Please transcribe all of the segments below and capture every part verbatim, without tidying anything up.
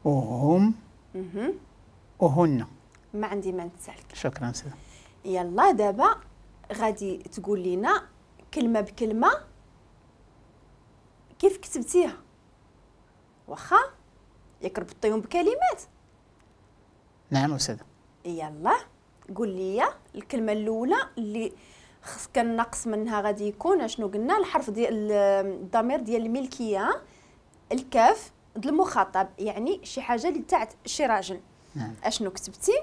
وهم وهن. ما عندي ما نتسالك. شكرا سيدي. يلا دابا غادي تقول لنا كلمة بكلمه كيف كتبتيها، واخا ياك ربطيهم بكلمات. نعم أستاذة. يلا قول لي الكلمة الاولى اللي خص كنقص منها غادي يكون اشنو قلنا؟ الحرف ديال الضمير ديال الملكية، الكاف ديال المخاطب، يعني شي حاجة اللي تاعت شي راجل. نعم. اشنو كتبتي؟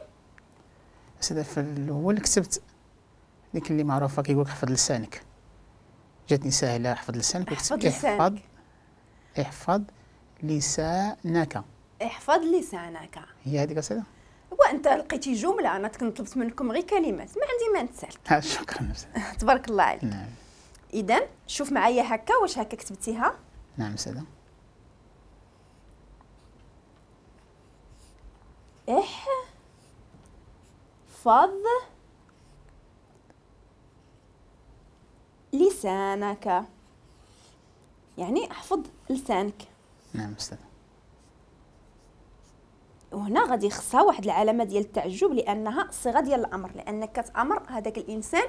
أستاذة في الاول كتبت ديك اللي معروفة كيقول لك حفظ لسانك، جاتني ساهله حفظ لسانك، وكتبت احفظ احفظ لسانك. احفظ لسانك هي هذيك أستاذة؟ وانت لقيتي جملة، انا كنت طلبت منكم غير كلمات، ما عندي ما نتسالك. شكرا أستاذة. تبارك الله عليك. نعم. اذا شوف معايا هكا، واش هكا كتبتيها؟ نعم أستاذة. احفظ لسانك، يعني احفظ لسانك. نعم أستاذة. وهنا غادي يخصها واحد العلامة ديال التعجب لانها صيغة ديال الامر، لانك كتامر هذاك الانسان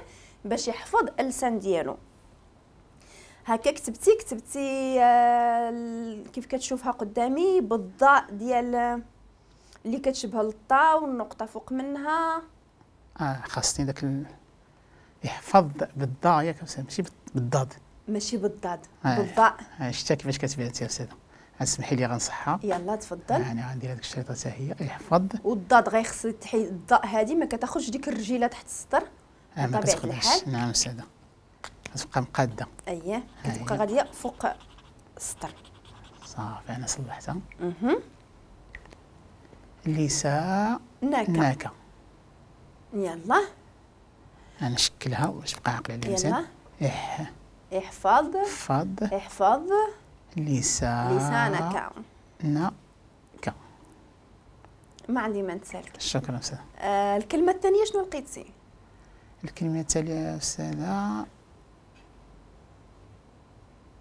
باش يحفظ اللسان ديالو. هكا كتبتي كتبتي آه كيف كتشوفها قدامي بالضاء ديال اللي كتشبه للطا والنقطة فوق منها. اه خاصني داك ال... يحفظ بالضاء ياك ماشي بالضاد. ماشي بالضاد، آه. بالضاء. آه شتا كيفاش كتبتي انت يا استاذه؟ اسمحي لي غنصحها. يلا تفضل. يعني غندير هذيك الشريطه حتى هي احفظ. والضاد غيخص تحيد الضاء هذه، ما كتاخذش ديك الرجيله تحت السطر. آه ما كتاخذهاش. نعم استاذه، كتبقى مقاده. اييه كتبقى غادية فوق السطر. صافي انا صلحتها. اها لسانك. ناكا. يلا انا نشكلها باش تبقى عاقلة عليها مزيان. اح احفظ احفظ احفظ لسان لسانك نك. ما عندي ما نتسالك. شكرا أستاذة. آه الكلمة الثانية شنو لقيتي؟ الكلمة الثانية أستاذة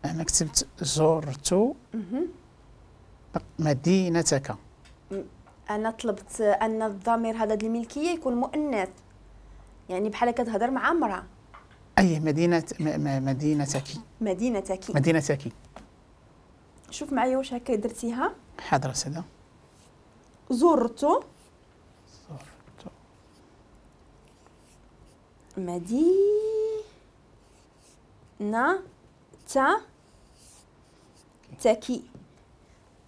أنا كتبت زرت مدينتك. أنا طلبت أن الضمير هذا ديال الملكية يكون مؤنث، يعني بحال كتهضر مع امرأة. أي مدينة مدينتك. مدينتك. مدينتك. شوف معايا واش هكا درتيها. حاضر أستاذة. زرت زرت مدينة تاكي،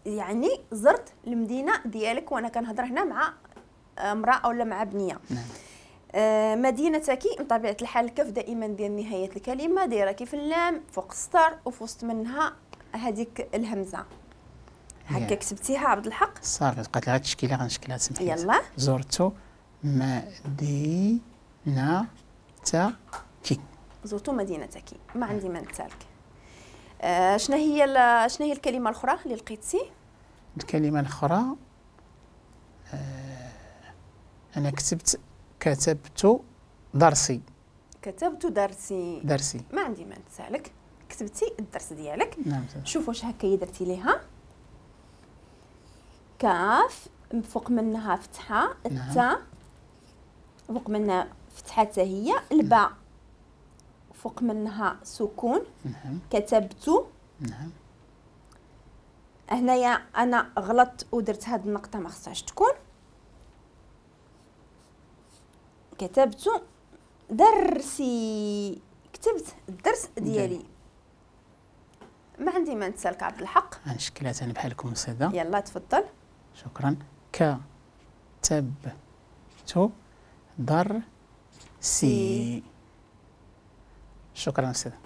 يعني زرت المدينة ديالك، وأنا كنهضر هنا مع امرأة أو مع بنية. نعم. آه مدينتك بطبيعة الحال الكف دائما ديال نهاية الكلمة دايرة كيف اللام فوق السطر وفي وسط منها هذيك الهمزة. هكا كتبتيها عبد الحق؟ صافي بقات لها التشكيلة غنشكلها تسمح لي. يلا. زرت مدينتك. زرت مدينتك، ما عندي ما نتسالك. آه شنو هي شنو هي الكلمة الاخرى اللي لقيتي؟ الكلمة الاخرى آه انا كتبت كتبت درسي. كتبت درسي. درسي. ما عندي ما نتسالك، كتبتي الدرس ديالك. نعم. شوف واش هكا درتي ليها. كاف فوق منها فتحه، التاء فوق منها فتحه حتى هي، الباء فوق منها سكون. نعم. كتبت. نعم. هنايا انا غلطت ودرت هاد النقطة ما خصهاش تكون. كتبت درسي، كتبت الدرس ديالي. ما عندي ما نتسالك عبد الحق. غنشكلها ثاني بحالكم أستاذة. يلا تفضل. شكرا. كتبت درسي. شكرا أستاذة.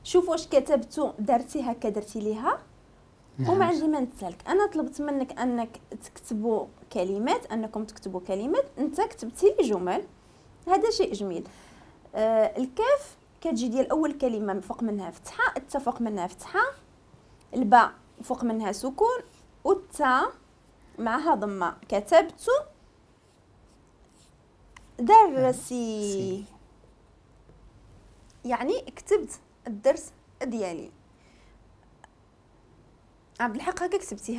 شوف واش كتبت درتي هكا درتي ليها. نعم. وما عندي ما نتسالك. انا طلبت منك انك تكتبوا كلمات، انكم تكتبوا كلمات، انت كتبتي لي جمل، هذا شيء جميل. آه الكاف كتجي ديال اول كلمة فوق منها فتحه، التاء فوق منها فتحه، الباء فوق منها سكون، والتاء معها ضمه. كتبت درسي، يعني كتبت الدرس ديالي. عبد الحق هكا كتبتيها.